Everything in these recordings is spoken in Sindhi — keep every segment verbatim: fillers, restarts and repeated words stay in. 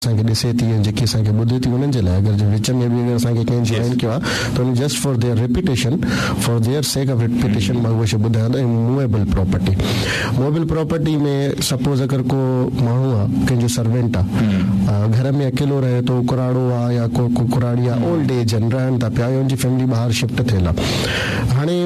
اسان کي ڏسي ٿي ۽ جيڪي اسان کي ٻڌي ٿي انهن جي لاء اگر جي وچ ۾ به اگر اسان کي ڪنهن جوائن ڪيو آهي ته ان just for their reputation for their sake of reputation مان اها شيء ٻڌايان ٿو movable property movable property ۾ suppose اگر ڪو ماڻهو آهي ڪنهن جو سروينٽ آهي گهر ۾ اڪيلو رهي ٿو ڪراڙو آهي يا ڪو ڪو ڪراڙي آهي اولڊ ايج آهن رهن ٿا پيا يا ان جي فيملي ٻاهر شفٽ ٿيل آهي هاڻي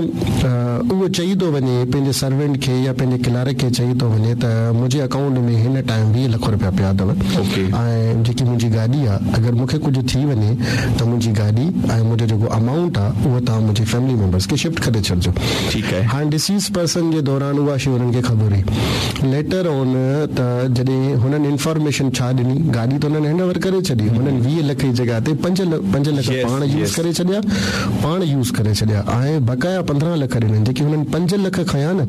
اهو چئي ٿو وڃي پنهنجي سروينٽ کي يا پنهنجي ڪلارڪ کي چئي ٿو وڃي ته منهنجي اڪائونٽ ۾ هن ٽائيم ويهه لک رپيا پيا اٿو ۽ جيڪي منهنجي گاڏي آهي اگر مون کي ڪجهه ٿي وڃي ته منهنجي گاڏي ۽ منهنجو جيڪو امائونٽ آهي اهو توهان منهنجي فيملي ميمبرس کي شفٽ ڪري ڇڏجو ٺيڪ آهي هاڻي ڊسيز پرسن جي دوران اها شيء هنن کي خبر هئي ليٽر آن ته جڏهن هنن انفارميشن ڇا ڏني گاڏي ته هنن هينڊ اوور ڪري ڇڏي هنن ويهه لک جي جڳهه تي پنج پنج لک پاڻ يوز ڪري ڇڏيا پاڻ يوز ڪري ڇڏيا ۽ بقايا پندرهن لک ڏنن جيڪي هنن پنج لک کنيا نه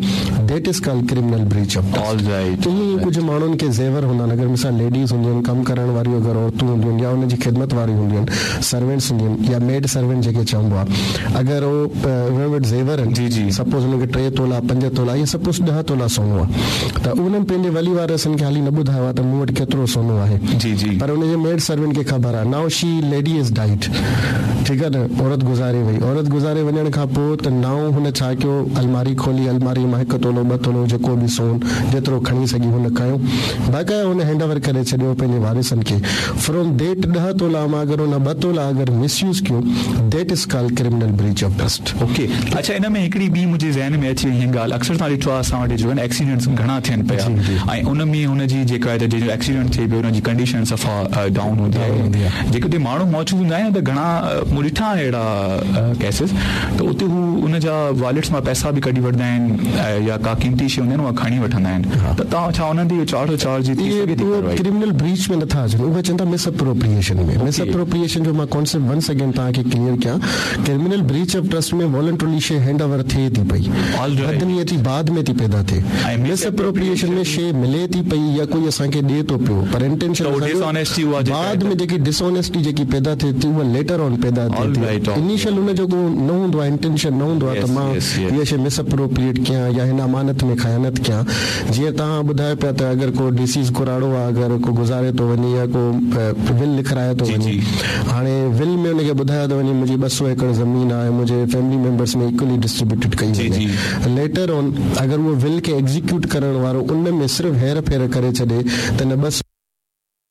that is called criminal breach of trust ائين ئي ڪجهه ماڻهن کي زيور هوندا آهن اگر مثال ليڊيز هونديون آهن ڪم ڪرڻ واريون اگر عورتون هونديون آهن يا ان جي خدمت واريون هونديون آهن سروينٽس هونديون آهن يا ميڊ سروينٽ جيڪي چئبو آهي اگر هو انهن وٽ زيور آهن جي جي سپوز انهن کي ٽي تولا پنج تولا يا سپوز ڏهه تولا سونو آهي ته انهن پنهنجي ولي وارثن کي حالي نه ٻڌايو آهي ته مون وٽ ڪيترو سونو آهي جي جي پر ان جي ميڊ سروينٽ کي خبر آهي now she lady is died ٺيڪ آهي نه عورت گذاري وئي عورت گذاري وڃڻ کان پوء ته نائو هن ڇا ڪيو الماري کولي الماري مان هڪ تولو ٻه تولو جيڪو به سون جيترو کڻي سگهي هن کنيو باقاعده هن هينڊ اوور ڪري ڇڏيو پنهنجي وارثن کي فرام that ڏهه تولا مان اگر هن ٻه تولا اگر مس يوز ڪيو that is called criminal breach of trust okay اڇا ان ۾ هڪڙي ٻي منهنجي ذهن ۾ اچي وئي هيء ڳالهه اڪثر توهان ڏٺو آهي اسان وٽ جو آهن ايڪسيڊنٽس گهڻا ٿين پيا ۽ ان ۾ هن جي جيڪا آهي ته جنهن جو ايڪسيڊنٽ ٿئي پيو ان جي ڪنڊيشن صفا ڊائون هوندي آهي جيڪي اتي ماڻهو موجود هوندا آهن ته گهڻا مون ڏٺا آهن اهڙا ڪيسز ته اتي هو ان جا واليٽس مان پئسا به ڪڍي وٺندا آهن يا ڪا قيمتي شيء هوندي آهن اها کڻي وٺندا آهن ته توهان ڇا انهن تي اهو چار سؤ چار جي ٿي سگهي ٿي ڪارروائي ڪرمنل بريچ ۾ نٿا اچن اهي چون ٿا مس اپروپريئيشن ۾ مس اپروپريئيشن جو مان ڪانسيپٽ ونس اگين توهان کي ڪليئر ڪيان criminal breach of trust ۾ voluntarily شيء هينڊ اوور ٿئي ٿي پئي بدنيتي بعد ۾ ٿي پيدا ٿئي مس اپروپريئيشن ۾ شيء ملي ٿي پئي يا ڪوئي اسان کي ڏئي ٿو پيو پر انٽينشن بعد ۾ جيڪي ڊسآنيسٽي جيڪي پيدا ٿئي ٿي اها ليٽر آن پيدا ٿئي ٿي انيشل ان جو ڪو نه هوندو آهي انٽينشن نه هوندو آهي ته مان هيء شيء مس اپروپريئيٽ ڪيان يا هن امانت ۾ خيانت ڪيان جيئن توهان ٻڌايو پيا ته اگر ڪو ڊسيز ڪراڙو آهي اگر ڪو گذاري ٿو وڃي يا ڪو ول لکرائي ٿو وڃي هاڻي ول ۾ ان کي ٻڌايو ٿو وڃي منهنجي ٻه سؤ ايڪڙ زمين آهي منهنجي فيملي ميمبرس ۾ ايڪولي ڊسٽريبيوٽيڊ ڪئي وڃي ليٽر آن اگر اهو ول کي ايگزيڪيوٽ ڪرڻ وارو ان ۾ صرف هير ڦير ڪري ڇڏي ته نه ٻه